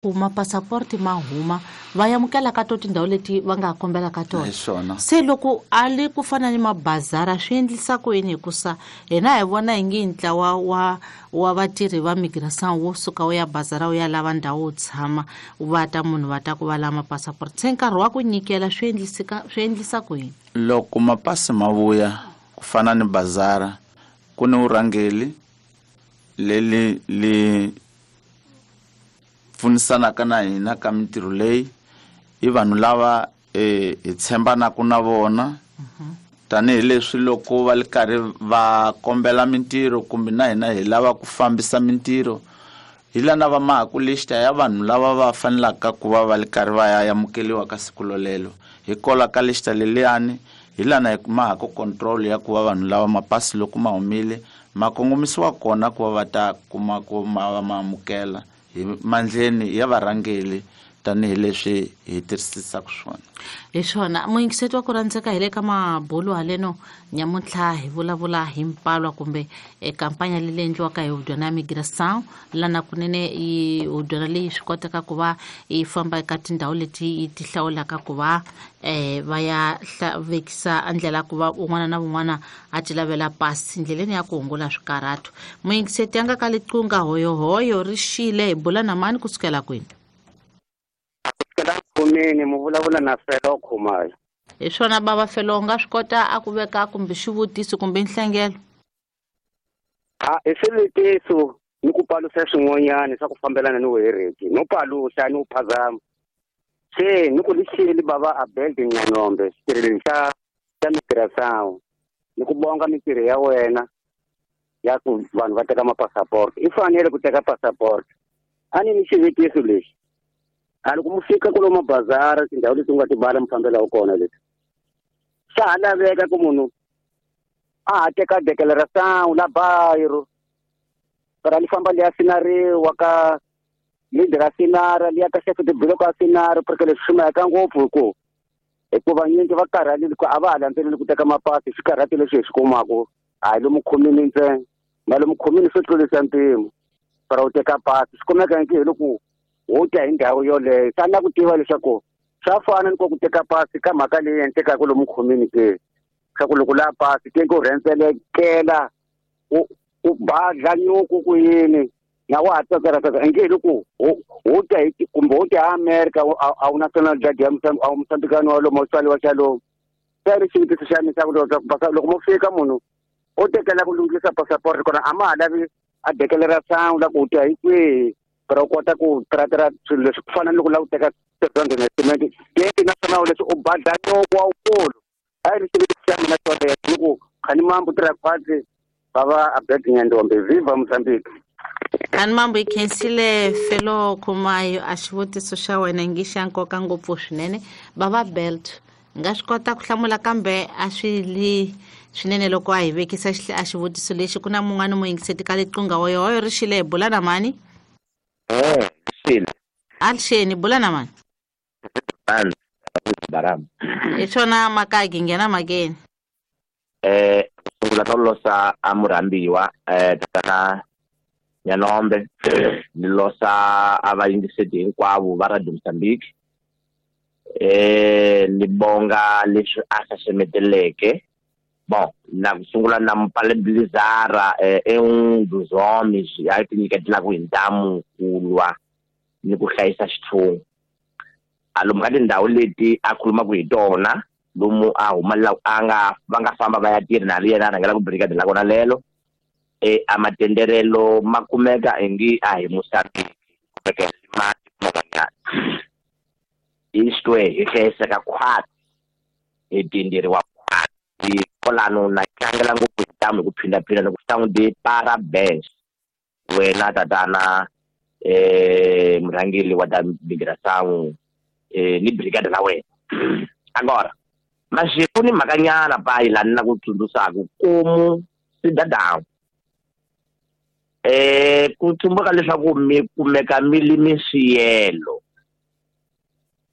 Loko mapasaporti ma huma va amukela ka to tindhawu leti va nga kombela ka tona. Hi swona. Se loko a li ku fana ni mabazara swi endlisa ku yini? Hikusa hina hi vona hi nge ntlawa wa vatirhi va migration wo suka wu ya bazara wu ya lava ndhawu wo tshama, va ta munhu va ta ku va lava mapasaport, se nkarhi wa ku nyikela swi endlisa ku yini? Loko mapasi ma vuya ku fana ni bazara, ku ni vurhangeli leli li pfunisanaka na hina ka mintirho leyi, i vanhu lava hi tshembanaka na vona. Tanihileswi loko va li karhi va kombela mintirho kumbe na hina hi lava ku fambisa mintirho, hi lana va mahaku lista ya vanhu lava va fanelaka ku va va li karhi va ya amukeliwa ka siku lolelo. Hi kola ka lista leliyani, hi lana hi mahaku control ya ku va vanhu lava mapasi loko ma humile ma kongomisiwa kona ku va va ta kuma ku ma va ma amukela hi mandleni ya varhangeli, tanihileswi hi tirhisisaka swona. Hi swona. Muyingiseti wa ku rhandzeka, hi le ka mabulu haleno nyamuntlha hi vulavula hi mpalwa kumbe kampanya leyi endliwaka hi hudyana ya migration, lana kunene yi hudyana leyi swi kotaka ku va yi famba eka tindhawu leti yi ti hlawulaka ku va va ya vekisa ndlela ku va un'wana na un'wana a ti lavela pasi ndleleni ya ku hungula swikarhato. Muyingiseti ya nga ka liqunga hoyohoyo ri xile, hi bula na mani kusukela kwini? Khumini, mu vulavula na Felo Khumalo. Hi swona bava Felo, u nga swi kota a ku veka kumbe xivutiso kumbe nhlengelo? A i swivutiso ni ku paluxa swin'wanyana swa ku fambelana ni vuhereki, no paluxa ni ku phazama. Se ni ku lixile bava Abel Nyanombe xitirhweni xa migration, ni ku bonga mintirho ya wena ya ku vanhu va teka mapasaport. I fanele ku teka passport. A ni ni xivutiso lexi, a loko mu fika kulo mabazara tindhawu leti u nga ti bala mi fambelaka kona leti, swa ha laveka ku munhu a ha teka declaration la bayiro para li famba liya sinariwa ka leader a sinara liya ka chef de bloc a sinara, porque leswi swi mayeka ngopfu hikuva nyingi va karhalile ku a va ha landzeleli ku teka mapasi. Swikarhati leswi hi swi kumaku a hi lomu khomini ntsena, na lomu khomini swo tlurisa mpimo para u teka pasi, swi kumeka hi loko wo ta hi ndhawu yoleyo. Swa na ku tiva leswaku swa fana ni ku teka pasi ka mhaka leyi endlekaka lomu khomini ke, swa ku loko la pasi ke ku rhendzelekela u badla nyuku ku yini na wa ha tsakela nge hi loko wo ta hi kumbe wo ta America a wu national drug ya a wu Mozambikani wa lomu tswariwa xa lomu. Se ri xivutiso xa mina xa ku loko mo fika munhu o tekela ku lunghisa passport kona a ma ha lavi a declaration la ku ta hi kwihi para u kota ku trackera swilo leswi ku fana ni loko u lava ku teka 700 cement gate na swona leswi u badla nyoko wa wukulu. A yi ri xivutiso xa mina xolexo ni ku khani mambo tirha khwatsi bava Abed Nyandombe, viva Mozambique. Khani mambo, hi khensile Felo Khumayo, a xivutiso xa wena ngi xa nkoka ngopfu swinene. Bava Belt nga swi kota ku hlamula kambe a swi li swinene loko a hi vekisa a xivutiso lexi. Ku na mun'wana muyingiseti ka liqunga hoyohoyo ri xile, hi bula na mani? Xile. Alixeni, bula na mani? Hi swona makagi, nghena makeni. Sungula no losa a murhambiwa tatana Nyanombe, ni losa a vayingiseti hinkwavo va Radio Mozambique. Ni bonga leswi a xaxameteleke. Bon, na ku sungula na mupaleblizara e um dos homens ya ti nyiketelaka hi ntamu ku lwa ni ku hlayisa xitshungu. A lomu ka tindhawu leti a khulumaka hi tona, lomu a humelela a nga va nga famba va ya tirha na yena a rhangela ku brigade la kona lelo, a matenderelo ma kumeka ingi a hi Mozambique, kumeka mati man'wanyana. Isto é, hi hlayiseka khwatsi, hi tinderiwa khwatsi, kwalano na tlangela ngopfu hi ntamu hi ku phindaphinda ni ku swi de parabéns wena tatana murhangeri wa ta migration ni brigade la wena. Agora mashiku ni mhakanyana payi laha ni na ku tsundzuxaka komu cidadão ku tsumbuka leswaku mi kumeka mi li mi swiyelo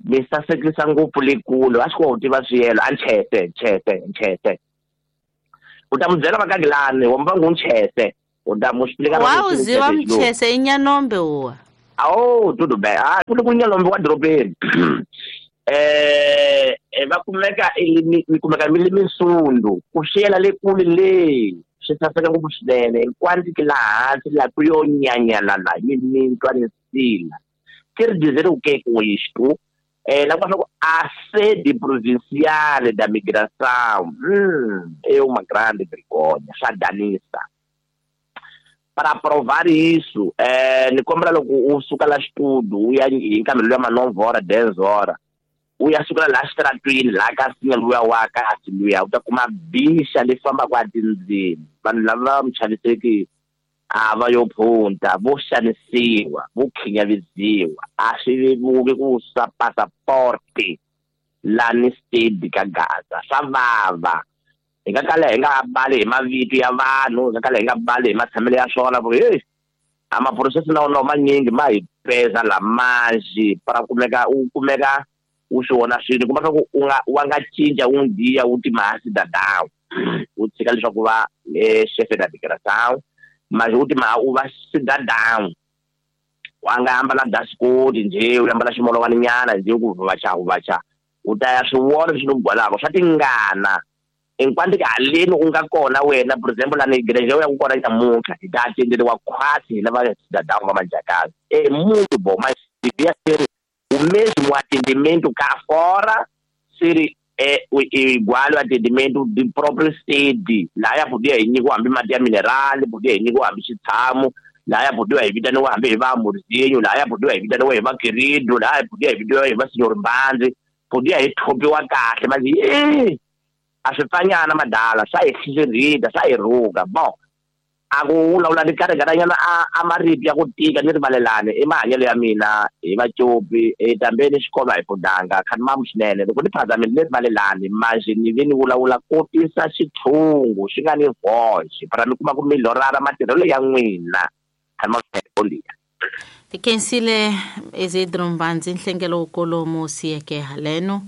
mi sasekisa ngopfu le kule, a swi koti ku tiva swiyelo a nchese nchese nchese. U ta mu byela vakagilani wa mvangu nchese, u ta mu explica wa u ziva mchese i Nyanombe uwa. Oh, tudo bem. Ah, ku ku Nyanombe wa dorobeni. Va kumeka mi kumeka mi le Minsundu, ku xiyela le kule le swi saseka ngopfu swinene, hinkwandzi laha hansi laha ku yo nyanyalala hi mintwa ni nsila. Quer dizer o que com isto? La ku a sede provincial da migração é uma grande vergonha, swa danisa. Para provar isso, ni kombela loko u suka la xitudu u ya hi nkarhi luya ma 9 horas 10 horas, u ya sukela laha xitaratwini laha ka nsinya luya wa kasi luya u ta kuma bixa leyi fambaka a tindzimi. Vanhu lava muchaviseki a va yo phunta, vo xanisiwa, vo khinyavisiwa, a swi vevuki ku sa passaporte lani steady ka Gaza, swa vava. Hi nga kala hi nga bali hi mavito ya vanhu, hi nga kala hi nga bali hi matshamelo ya swona, ku hey, a maprocess na wona manyingi ma hi peza lamanji para kumeka u kumeka u swi vona swilo, kuma swa ku u nga wa nga cinca un dia u ti masi cidadão, u tshika leswaku va chefe da migração, mas u ti ma u va cidadão, wa nga ambala dasikoti njhe, u ambala ximolowani nyana njhe, ku vacha vacha, u ta ya swi vona leswi ni gwalaka swa tingana. Enquanto que aleni u nga kona wena, por exemplo, la igreja ya ku kona nyamuntlha hi ta atenderiwa khwatsi hi lava cidadão va majakazi. É muito bom, mas devia ser o mesmo atendimento cá fora, ser igual o atendimento do próprio sede. Lá ya podia hi nyikiwa hambi mati ya mineral, podia hi nyikiwa hambi xitshamo, lá ya podia hi vitaniwa hambi hi va amorzinho, lá ya podia hi vitaniwa hi va querido, lá ya podia hi vitaniwa hi va senhor Mbandzi, podia hi thopiwa kahle, mas a swi pfanyana madala, swa hi hlirhita, swa hi rhuka. Bon, a ku vulavula ni karhi-karhinyana a marito ya ku tika ni rivalelani i mahanyelo ya mina hi vacopi, tambeni xikolo a hi pfundanga khani mamu swinene. Loko ni phazamile ni rivalelani, manje ni ve ni vulavula kotisa xitshungu xi nga ni voxe para mi kuma ku mi lorara matirhelo ya n'wina. Khani mamu swinene, bom dia. Tikhensile Isidro Mbandzi, nhlengelo wukulu siyeke haleno.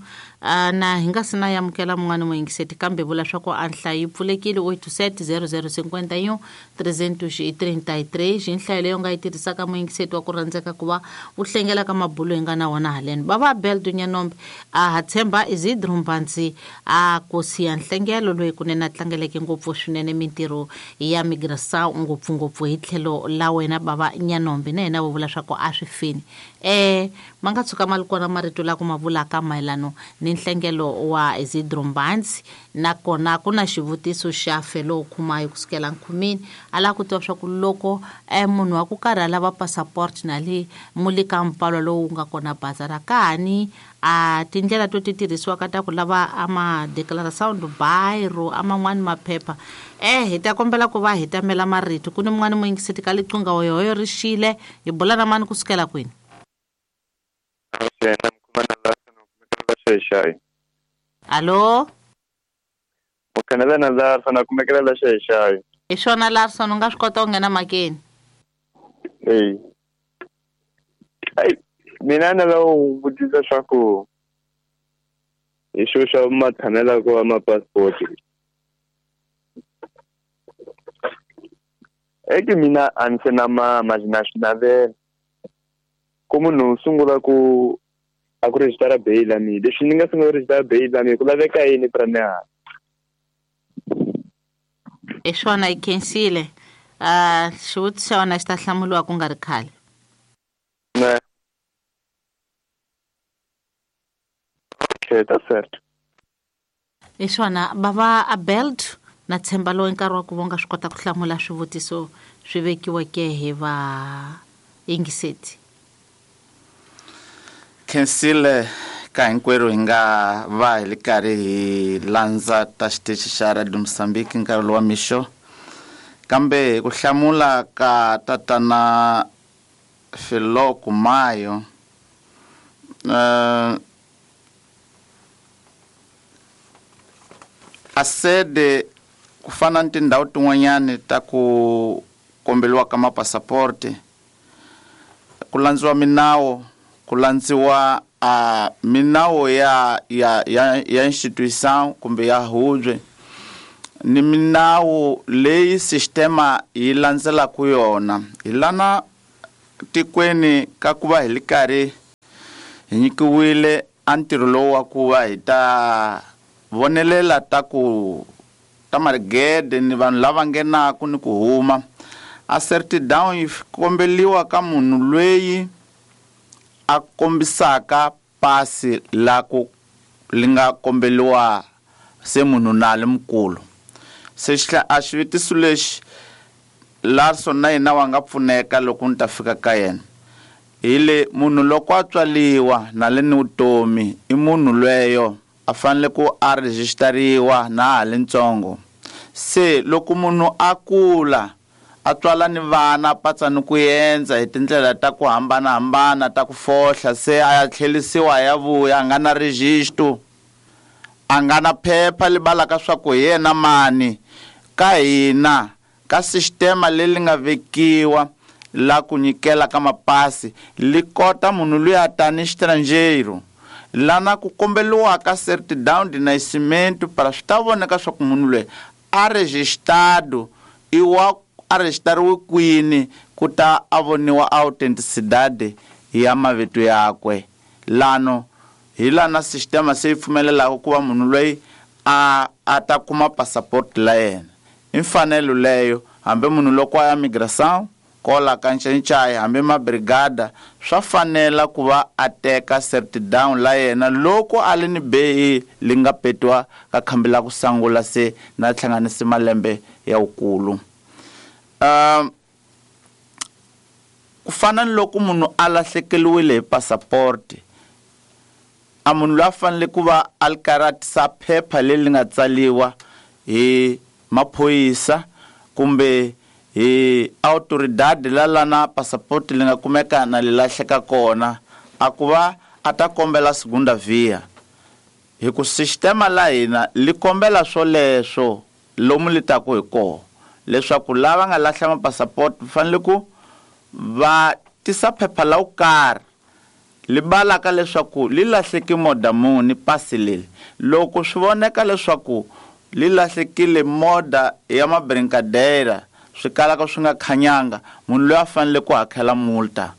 Na hi nga si na amukela mun'wana muyingiseti, kambe vula swa ku a nhlayo yi pfulekile 87 00 51 333, nhlayo leyi u nga yi tirhisaka muyingiseti wa ku rhandzeka ku va u hlengela ka mabulo hi nga na wona haleno. Bava Abel Nyanombe a ha tshemba Isidro Mbandzi a ku siya nhlengelo loyi kunene a tlangeleke ngopfu swinene mintirho ya migração ngopfungopfu hi tlhelo la wena bava Nyanombe, na yena vo vula swa ku a swi fini. Ma nga tshuka ma ri kona marito la ku ma vulaka mayelano ni nhlengelo wa Isidro Mbandzi, nakona ku na xivutiso xa Felo Khumayo kusukela nkhumini, a lava ku tiva swa ku loko munhu wa ku karhi a lava passport na le muli ka mpfalo lowu nga kona bazara kani a tindlela to ti tirhisiwaka ta ku lava a ma declaração do bairro a man'wani maphepha. Hi ta kombela ku va hi tamela marito. Ku ni mun'wani muyingiseti ka liqingha hoyohoyo ri xile, hi bula na mani kusukela kwini? Allo? Mukhanelana Larson, a kumekela la xayi. Hi swona Larson, u nga swi kota ku nghena makeni? Eyi. Ai, mina ni lava ku vutisa swa ku hi xo xa matshamelo wa ma-passport. Eke mina a ni se na mama, na swi navela. Ku munhu u sungula ku a ku rejistara bail ya mina, leswi ni nga sungula ku rejistara bail ya mina ku laveka yini pra mina? Hi swona, yi khensile. Xivutiso xa wena xi ta hlamuriwa ku nga ri khale. Ne. Okay, that's it. Hi swona, bava Abel na tshemba lowu nkarhi wa ku va nga swi kota ku hlamula swivutiso swi vekiweke hi va yingiseti. Khensile ka hinkwerhu hi nga va hi ri karhi hi landza ta xitichi xa Radio Mozambique nkarhi lowa mixo, kambe ku hlamula ka tatana Felo Khumayo, a sede ku fana ni tindhawu tin'wanyani ta ku komberiwa ka mapasaporte, ku landziwa minawu, ku landziwa a minawu ya ya ya ya institution kumbe ya hubye, ni minawu leyi sistema yi landzelaka yona. Hi lana tikweni ka ku va hi li karhi hi nyikiwile a ntirho lowu wa ku va hi ta vonelela ta ku ta marigede ni vanhu lava nghenaku ni ku huma, a certidão yi kombeliwa ka munhu loyi a kombisaka pasi la ku li nga kombeliwa se munhu na li mukulu. Se a xivutiso lexi Larson na yena wa nga pfuneka loko ni ta fika ka yena. Hi le munhu loko a tswaliwa na le ni vutomi i munhu lweyo a fanele ku a rejistariwa na ha li ntsongo. Se loko munhu a kula a tswala ni vana a patsa ni ku endza hi tindlela ta ku hambanahambana ta ku fohla, se a ya tlhelisiwa a ya vuya a nga na registro, a nga na phepha li balaka swa ku hi yena mani. Ka hina ka sistema leri nga vekiwa la ku nyikela ka mapasi li kota munhu luya a tani xitranjero lana ku kombeliwaka certidão de nascimento para swi ta voneka swa ku munhu loyi a registrado i wa a registariwe kwini ku ta a voniwa autenticidade ya mavito yakwe. Lano hi lana sistema se yi pfumelelaka ku va munhu loyi a ta kuma passport la yena. I mfanelo leyo hambi munhu loko a ya migração kola ka ncencai hambi mabrigada swa fanela ku va a teka certidão la yena loko a li ni beyi li nga petiwa ka khambi la ku sangula se na hlanganisi malembe ya wukulu. Ku fana ni loko munhu a lahlekeriwile hi passport, a munhu loyi a fanele ku va a li karhi a tisa phepha leri nga tsaliwa hi maphorisa kumbe hi autoridade la lana passport li nga kumeka na li lahleka kona, a ku va a ta kombela segunda via. Hi ku sistema la hina li kombela swoleswo lomu li taku hi koho, leswaku lava nga lahla mapasapoti va fanele ku va tisa phepha la wo karhi li balaka leswaku li lahleke moda muni pasi leri. Loko swi voneka leswaku li lahlekile moda ya mabrincadeira swi kalaka swi nga khanyanga, munhu loyi a fanele ku hakela multa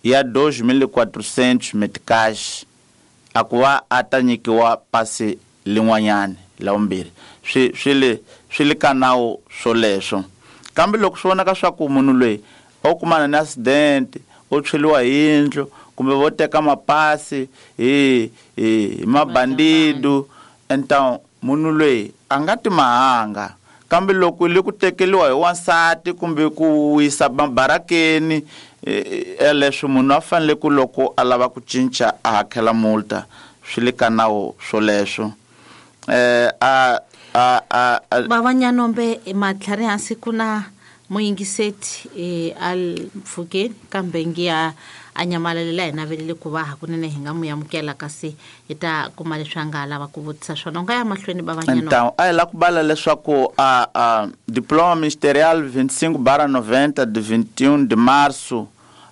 ya 2400 meticais a ku va a ta nyikiwa pasi lin'wanyani la vumbirhi. Swi le ka nawu swoleswo. Kambe loko swi vonaka swa ku munhu loyi o kumana ni accident, o tshweliwa hi yindlu kumbe vo teka mapasi hi mabandido, então munhu loyi a nga ti mahanga. Kambe loko li ku tekeliwa hi wansati kumbe ku wisa mabarakeni, leswi munhu a fanele ku loko a lava ku cinca a hakela multa, swi le ka nawu swoleswo. Bava Nyanombe matlhari hansi ku na muyingiseti a mpfhukeni kambe ngiya a nyamalalela hi navelele ku va hakunene hi nga mu amukela kasi hi ta kuma leswi a nga lava ku vutisa swona. U nga ya mahlweni Bava Nyanombe. Então, a hi la ku bala leswaku a diploma ministerial 25/90 de 21 de março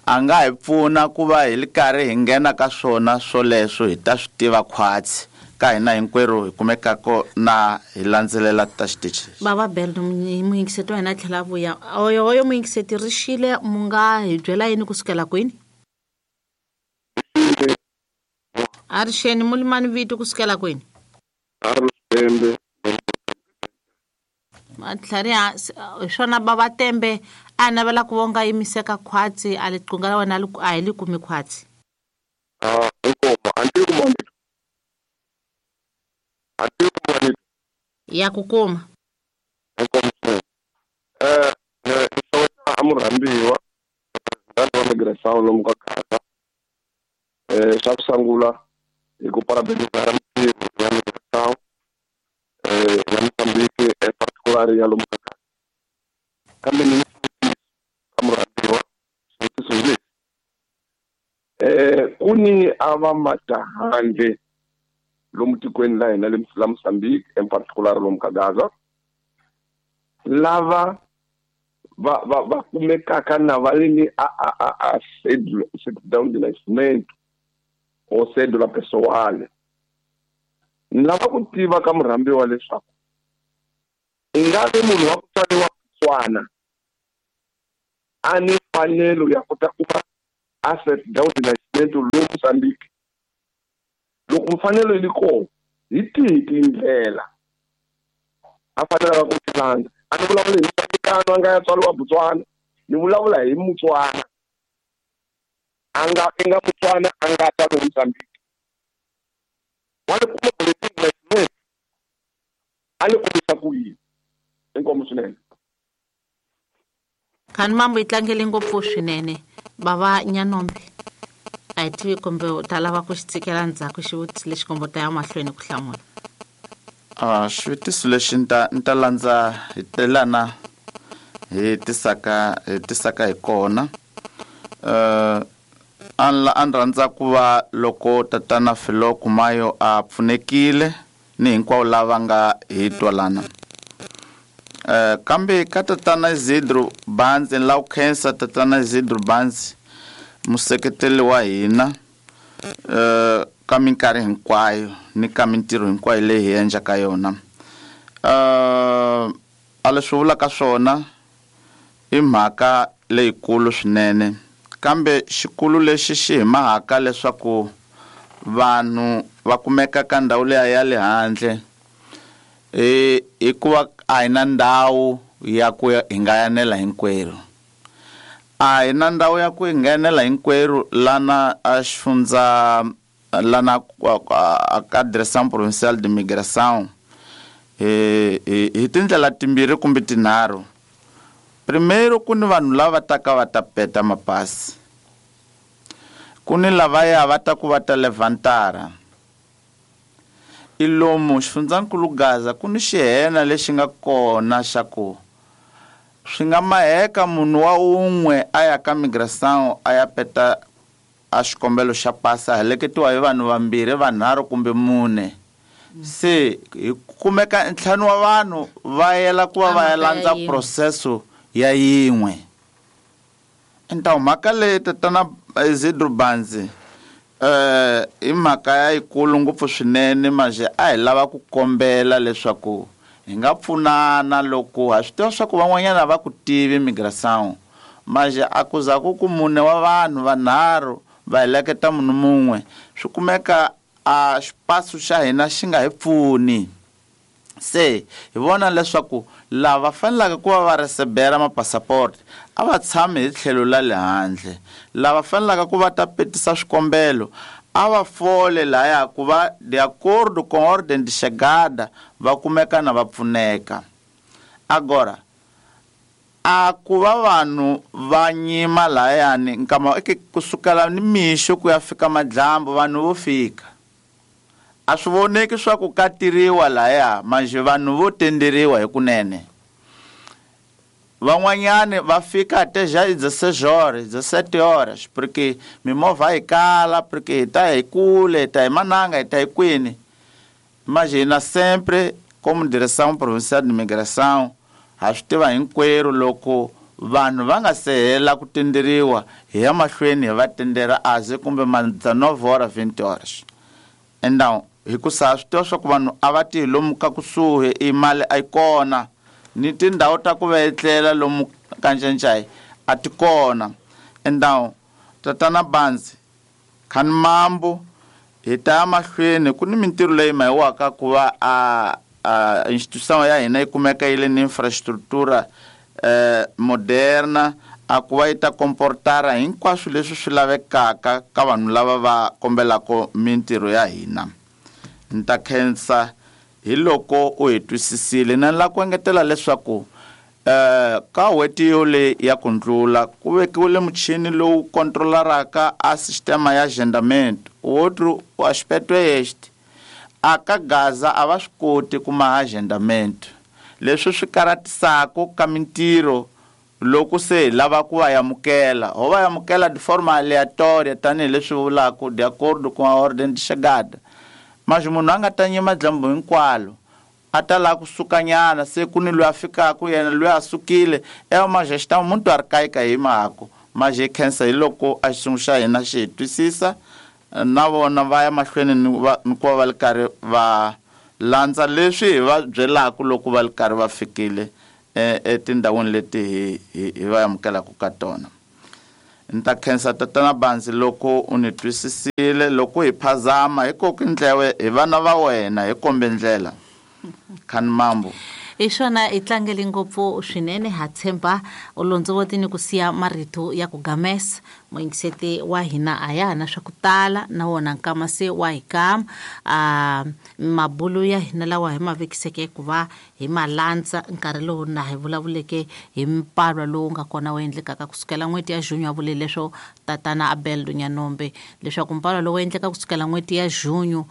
a nga hi pfuna ku va hi li karhi hi nghena ka swona swoleswo, hi ta swi tiva khwatsi ka hina hinkwerhu hi kumekaka na hi landzelela ta xitichi. Bava Belo muyingiseti wa hina a tlhela a vuya. Oyo oyo muyingiseti ri xile, mu nga hi byela yini kusukela kwini? A ri xeni mulimani vito kusukela kwini? Matlhari hi swona Bava Tembe a navela ku vonga yimiseka khwatsi a liqunga la wena a hi li kumi khwatsi. Ya ku kuma. A murhambiwa president wa migração lomu ka Gaza. Xa ku sungula hi ku parabenizar mintirho ya migração ya Mozambique in particular ya lomu ka Gaza. Kambe ni ka murhambiwa xivutiso hi lexi. Ku ni a va matahandle lomu tikweni la hina la Mozambique in particular lomu ka Gaza lava va kumekaka na va ri ni a certidão de nascimento ou cédula pessoal. Ni lava ku tiva ka murhambiwa leswaku i nga vi munhu wa ku tswariwa Botswana a ni mfanelo ya ku ta kuma a certidão de nascimento lomu Mozambique. Loko mfanelo yi ri kona, hi tihi tindlela a fanelaka ku ti landza? A ni vulavuli hi Mozambikano a nga ya tswariwa Botswana, ni vulavula hi Mutswana a nga i nga Mutswana a nga tswariwa Mozambique. Wa ni kuma boletim de nascimento, a ni kumisa ku yini? Inkomu swinene. Khani mambo yi tlangele ngopfu swinene bava Nyanombe, a hi tivi kumbe u ta lava ku xi tshikela ndzhaku xivutiso lexi kumbe u ta ya mahlweni ku hlamula. Xivutiso lexi ni ta landza hi telana hi tisaka hi kona. A ni rhandza ku va loko tatana Philo Kumayo a pfunekile ni hinkwavo lava nga hi twalana. Kambe ka tatana Isidro Banzi, ni lava ku khensa tatana Isidro Banzi, museketeli wa hina ka minkarhi hinkwayo ni ka mintirho hinkwayo leyi hi endlaka yona. A leswi vulaka swona i mhaka leyikulu swinene, kambe xikulu lexi xi hi mahaka leswaku vanhu va kumeka ka ndhawu leya ya le handle hikuva a hi na ndhawu ya ku hi nga yanela hinkwerhu. A hi na ndhawu ya ku hi nga yanela hinkwerhu lana a xifundza lana ka Direção Provincial de Migração hi tindlela timbirhi kumbe tinharhu. Primeiro, ku ni vanhu lava taka va ta peta mapasi, ku ni lavaya va ta ku va ta levantara. I lomu xifundzankulu Gaza ku ni xihena lexi nga kona xa ku swi nga maheka munhu wa un'we a ya ka migração a ya peta a xikombelo xa pasi, a heleketiwa hi vanhu vambirhi, vanharhu kumbe mune. Se hi kumeka ntlhanu wa vanhu va yela ku va va ya landza processo ya yin'we. Então mhaka leyi tatana Isidro Banzi i mhaka ya yikulu ngopfu swinene, manje a hi lava ku kombela leswaku hi nga pfunana loko ha swi tiva swa ku van'wanyana va ku tivi migração, manje a ku za ku ku mune wa vanhu vanharhu va heleketa munhu mun'we, swi kumeka a xipasu xa hina xi nga hi pfuni. Se hi vona leswaku lava fanelaka ku va va recebera mapasaport a va tshami hi tlhelo la le handle, lava fanelaka ku va ta petisa swikombelo a va fole laya ku va de acordo com ordem de chegada va kumeka na va pfuneka. Agora a ku va vanhu va nyima layani nkama eke kusukela ni mixo ku ya fika madlambu vanhu vo fika, a swi voneki swa ku katiriwa laya, manje vanhu vo tenderiwa hi kunene. Van'wanyani va fika até já 16 horas, 17 horas, porque mimovha yi kala, porque hi ta hi kule, hi ta hi mananga, hi ta hi kwini. Mas hina sempre como Direção Provincial de Migração ha swi tiva hinkwerhu loko vanhu va nga se hela ku tenderiwa hi ya mahlweni hi va tendera aze kumbe ma 19 horas, 20 horas. Então hikusa swi tiva swa ku vanhu a va ti lomu ka kusuhi i mali a yi kona, ni tindhawu ta ku va etlela lomu ka Ncencai a ti kona. Então tatana Banzi khani mambo hi ta ya mahlweni ku ni mintirho leyi mahiwaka ku va a instituição ya hina yi kumeka yi le ni infrastructura moderna, a ku va yi ta comportara hinkwaswo leswi swi lavekaka ka vanhu lava va kombelaka mintirho ya hina. Ni ta khensa hi loko u hi twisisile. Na ni lava ku engetela leswaku ka n'hweti yole ya ku ndlula ku vekiwile muchini lowu controlaraka a sistema ya agendamento. Outro aspecto é este: a ka Gaza a va swi koti ku maha agendamento, leswi swi karatisaka ka mintirho loko se hi lava ku va amukela, ho va amukela de forma aleatória tanihileswi vulaka de acordo com a ordem de chegada. Mas munhu a nga ta nyima dyambu hinkwalo, a ta lava ku sukanyana, se ku ni loyi a fikaka yena loyi a sukile, é uma gestão muito arcaica hi mhako. Mas hi khensa hi loko a xiyimo xa hina xi hi twisisa, na vona va ya mahlweni ni ku va va ri karhi va landza leswi hi va byelaka loko va ri karhi va fikile etindhawini leti hi va amukelaka ka tona. Ni ta khensa tatana Banzi loko u ni twisisile. Loko hi phazama hi koki ndlewe hi vana va wena, hi kombe ndlela. Khani mambo. Hi swona, hi tlangele ngopfu swinene. Ha tshemba u londzovoti ni ku siya marito ya ku gamesa muyingiseti wa hina. A ya ha na swa ku tala na wona nkama se wa hi kama. Mabulu ya hina lawa hi ma vekiseke ku va hi ma landza nkarhi lowu na hi vulavuleke hi mpalwa lowu nga kona wu endlekaka kusukela n'hweti ya junho, a vule leswo tatana Abel Dunyanombe leswaku mpalwa lowu endleka kusukela n'hweti ya junho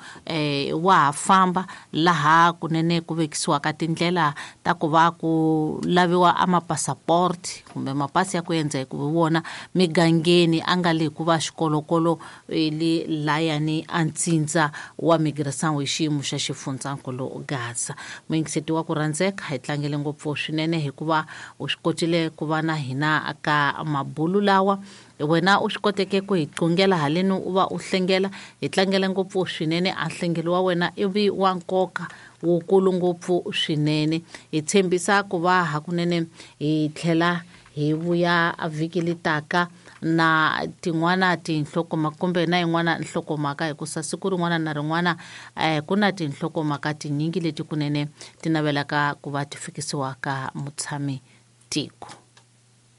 wa ha famba, laha kunene ku vekisiwaka tindlela ta ku va ku laviwa a mapasaport kumbe mapasi ya ku endza hi ku vona migangeni, a nga le ku va xikolokolo le layani a ntsindza wa migração hi xiyimo xa xifundzankulu Gaza. Muyingiseti wa ku rhandzeka, hi tlangele ngopfu swinene hikuva u swi kotile ku va na hina ka mabulu lawa. Wena u swi koteke ku hi qungela haleni, u va u hlengela, hi tlangele ngopfu swinene. A nhlengelo wa wena ivi wa nkoka wukulu ngopfu swinene. Hi tshembisa ku va hakunene hi tlhela hi vuya vhiki litaka na tin'wana tinhlokomhaka kumbe na yin'wana nhlokomhaka, hikusa siku rin'wana na rin'wana ku na tinhlokomhaka tinyingi leti kunene ti navelaka ku va ti fikisiwa ka mutshami tiko.